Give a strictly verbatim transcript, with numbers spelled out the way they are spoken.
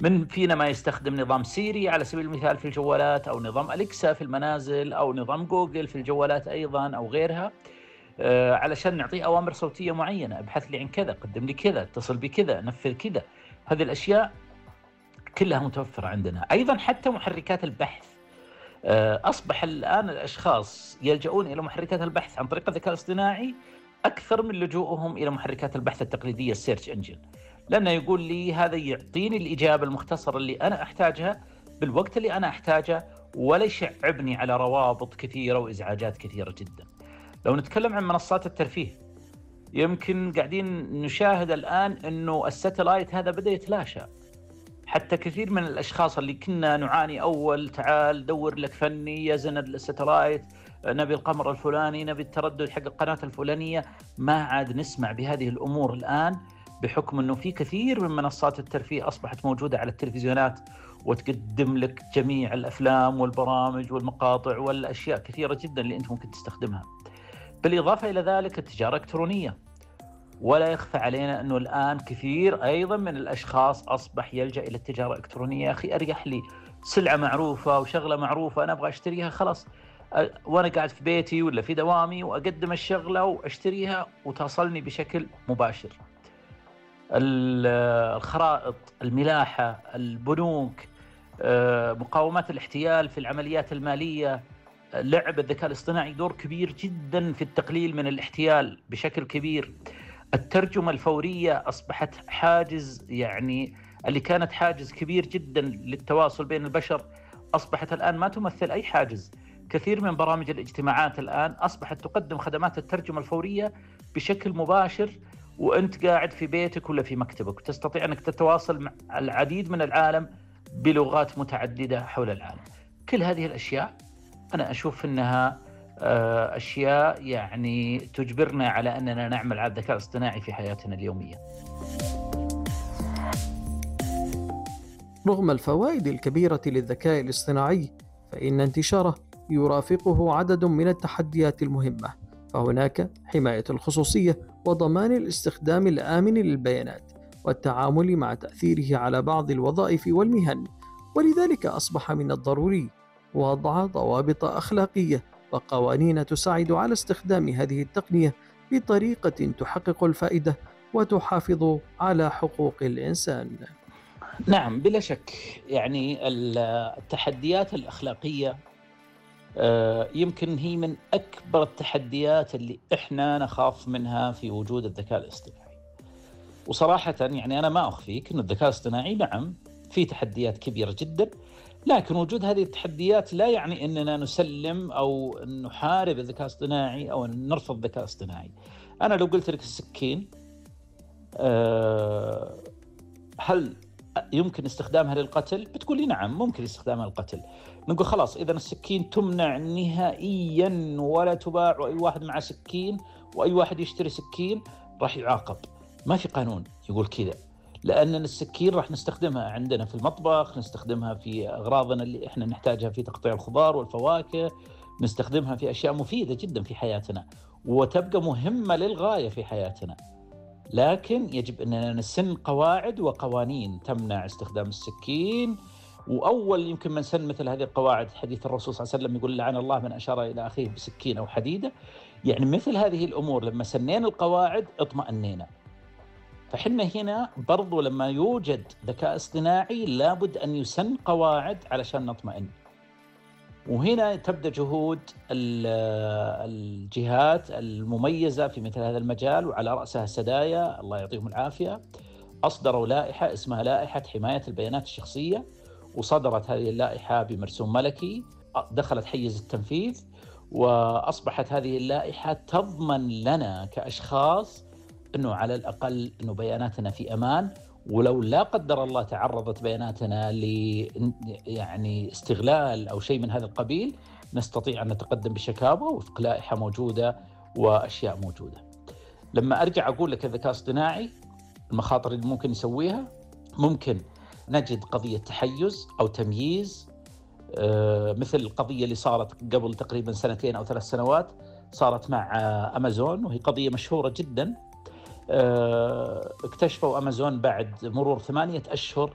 من فينا ما يستخدم نظام سيري على سبيل المثال في الجوالات، أو نظام أليكسا في المنازل، أو نظام جوجل في الجوالات أيضا أو غيرها، آه علشان نعطيه أوامر صوتية معينة، ابحث لي عن كذا، قدم لي كذا، اتصل بكذا، نفذ كذا. هذه الأشياء كلها متوفرة عندنا. أيضا حتى محركات البحث، آه أصبح الآن الأشخاص يلجؤون إلى محركات البحث عن طريق الذكاء الاصطناعي أكثر من لجوءهم إلى محركات البحث التقليدية السيرش انجن، لأنه يقول لي هذا يعطيني الإجابة المختصرة اللي أنا أحتاجها بالوقت اللي أنا أحتاجه، ولا يشعبني على روابط كثيرة وإزعاجات كثيرة جدا. لو نتكلم عن منصات الترفيه، يمكن قاعدين نشاهد الآن أنه الساتلايت هذا بدأ يتلاشى. حتى كثير من الأشخاص اللي كنا نعاني أول، تعال دور لك فني يزن الساتلايت، نبي القمر الفلاني، نبي التردد حق القناة الفلانية، ما عاد نسمع بهذه الأمور الآن، بحكم أنه في كثير من منصات الترفيه أصبحت موجودة على التلفزيونات وتقدم لك جميع الأفلام والبرامج والمقاطع والأشياء كثيرة جدا اللي أنت ممكن تستخدمها. بالإضافة إلى ذلك التجارة الإلكترونية، ولا يخفى علينا أنه الآن كثير أيضا من الأشخاص أصبح يلجأ إلى التجارة الإلكترونية. يا أخي أريح لي سلعة معروفة وشغلة معروفة أنا أبغى أشتريها، خلاص وأنا قاعد في بيتي ولا في دوامي وأقدم الشغلة وأشتريها وتصلني بشكل مباشر. الخرائط، الملاحة، البنوك، مقاومات الاحتيال في العمليات المالية، لعب الذكاء الاصطناعي دور كبير جدا في التقليل من الاحتيال بشكل كبير. الترجمة الفورية أصبحت حاجز، يعني اللي كانت حاجز كبير جدا للتواصل بين البشر أصبحت الآن ما تمثل أي حاجز. كثير من برامج الاجتماعات الآن أصبحت تقدم خدمات الترجمة الفورية بشكل مباشر وأنت قاعد في بيتك ولا في مكتبك، وتستطيع أنك تتواصل مع العديد من العالم بلغات متعددة حول العالم. كل هذه الأشياء أنا أشوف أنها أشياء يعني تجبرنا على أننا نعمل على الذكاء الاصطناعي في حياتنا اليومية. رغم الفوائد الكبيرة للذكاء الاصطناعي، فإن انتشاره يرافقه عدد من التحديات المهمة، فهناك حماية الخصوصية وضمان الاستخدام الآمن للبيانات والتعامل مع تأثيره على بعض الوظائف والمهن. ولذلك أصبح من الضروري وضع ضوابط أخلاقية وقوانين تساعد على استخدام هذه التقنية بطريقة تحقق الفائدة وتحافظ على حقوق الإنسان. نعم بلا شك، يعني التحديات الأخلاقية يمكن هي من أكبر التحديات اللي إحنا نخاف منها في وجود الذكاء الاصطناعي. وصراحة يعني أنا ما أخفيك أن الذكاء الاصطناعي نعم في تحديات كبيرة جدا، لكن وجود هذه التحديات لا يعني أننا نسلم أو نحارب الذكاء الاصطناعي أو نرفض الذكاء الاصطناعي. أنا لو قلت لك السكين أه هل يمكن استخدامها للقتل؟ بتقول لي نعم ممكن استخدامها للقتل. نقول خلاص إذا السكين تمنع نهائيا ولا تباع، وأي واحد مع سكين وأي واحد يشتري سكين راح يعاقب. ما في قانون يقول كذا، لأن السكين راح نستخدمها عندنا في المطبخ، نستخدمها في أغراضنا اللي إحنا نحتاجها في تقطيع الخضار والفواكه، نستخدمها في أشياء مفيدة جدا في حياتنا وتبقى مهمة للغاية في حياتنا. لكن يجب أننا نسن قواعد وقوانين تمنع استخدام السكين. وأول يمكن من سن مثل هذه القواعد حديث الرسول صلى الله عليه وسلم يقول لعن الله من أشار إلى أخيه بسكين أو حديدة. يعني مثل هذه الأمور لما سنين القواعد اطمأنينا. فحنا هنا برضو لما يوجد ذكاء اصطناعي لابد أن يسن قواعد علشان نطمئن. وهنا تبدأ جهود الجهات المميزة في مثل هذا المجال، وعلى رأسها السدايا الله يعطيهم العافية أصدروا لائحة اسمها لائحة حماية البيانات الشخصية، وصدرت هذه اللائحة بمرسوم ملكي، دخلت حيز التنفيذ، وأصبحت هذه اللائحة تضمن لنا كأشخاص أنه على الأقل أنه بياناتنا في أمان، ولو لا قدر الله تعرضت بياناتنا ل يعني استغلال أو شيء من هذا القبيل نستطيع أن نتقدم بشكاوى وفق لائحة موجودة وأشياء موجودة. لما أرجع أقول لك الذكاء الاصطناعي المخاطر اللي ممكن يسويها، ممكن نجد قضية تحيز أو تمييز، مثل القضية اللي صارت قبل تقريبا سنتين أو ثلاث سنوات صارت مع أمازون، وهي قضية مشهورة جدا. اكتشفوا أمازون بعد مرور ثمانية أشهر